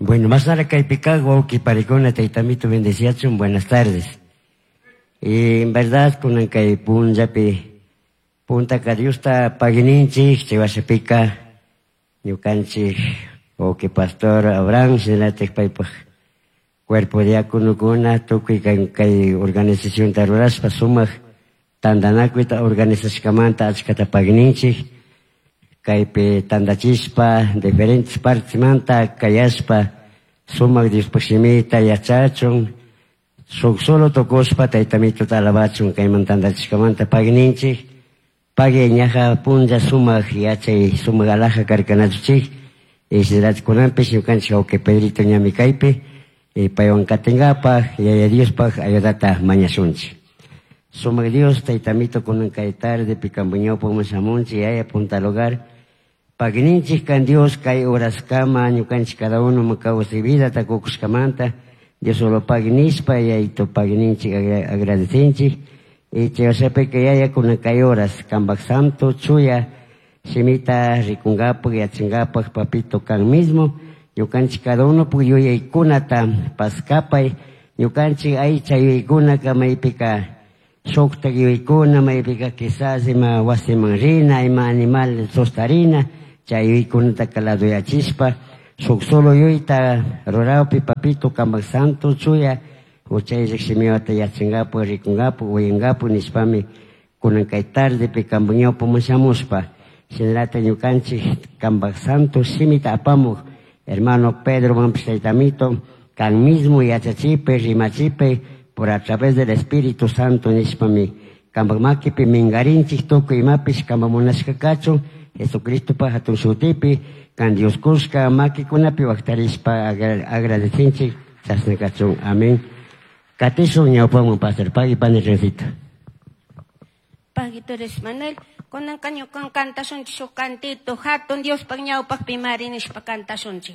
Bueno, masnara kaypi wawqi panikuna, taytamito bendeciachun, buenas tardes. Y en verdad, kunan kay punllapi, puntaka Diosta paguininchik, chay wasipika, ñukanchik, wawqi pastor Abraham, shinallatik paypaj cuerpo diáconokuna, tukuy kay, kay organizacionta rurashpa sumak tantanakuyta organizashkamanta achkata paguininchik, kaypi tantachishpa diferentes partesmanta kayashpa sumak Diospaj shimita yachachun, shuk solo tukushpa taytamituta alabachun kayman tantachishkamanta paguininchik, pagui ñaja punlla sumak yachay sumak alaja karkanachuchik, y shinallatik kunanpish ñukanchik wawqi Pedrito ñami kaypi, y paywan katingapaj Yaya Diospaj ayudata mañashunchik. Sumak Dios taytamito kunan kay tardepi kanpak ñawpakman shamunchik Yaya punta lugar, paguininchik kan Dios kay horaskama ñukanchik cada uno kawsay vidata kukushkamanta, Dios solo pagui nishpa Yayito paguininchik agradecinchik, y chay washapika Yaya kunan kay horas kanpak santo chuya shimita rikungapak yachangapak papito kan mismo, ñukanchik cada uno puk yuyaykunata paskapay, ñukanchik aycha yuyaykunaka maypika shuktak yuyaykuna, maypika quizás ima wasiman rina, ima animal sustarina, chay yuyaykunataka laduyachishpa, shuk solo yuyayta rurawpi papito kanpak santo chuya huchayllak shimiwata yachangapak, rikungapak, uyangapak nishpami kunan kay tardepi kanpak ñawpaman shamushpa, shinallata ñukanchik kanpak santo shimita apamuk hermano Pedro manpish taytamito, kan mismo yachachipi, rimachipi, por a través del Espíritu Santo nishpami kanpak makipi mingarinchik tukuy imapish kanpak munashka kachun, Jesucristopa hatun shutipi, kan Dios kushka makikunapi waktarishpa agradecinchik, chashna kachun. Amén. Katishun ñawpaman pastor, pagui pani Rencito. Pagui Torres Manuel, kunanka ñukan kantashunchik shuk cantito, hatun Diospaj ñawpakpi mari nishpa kantashunchik.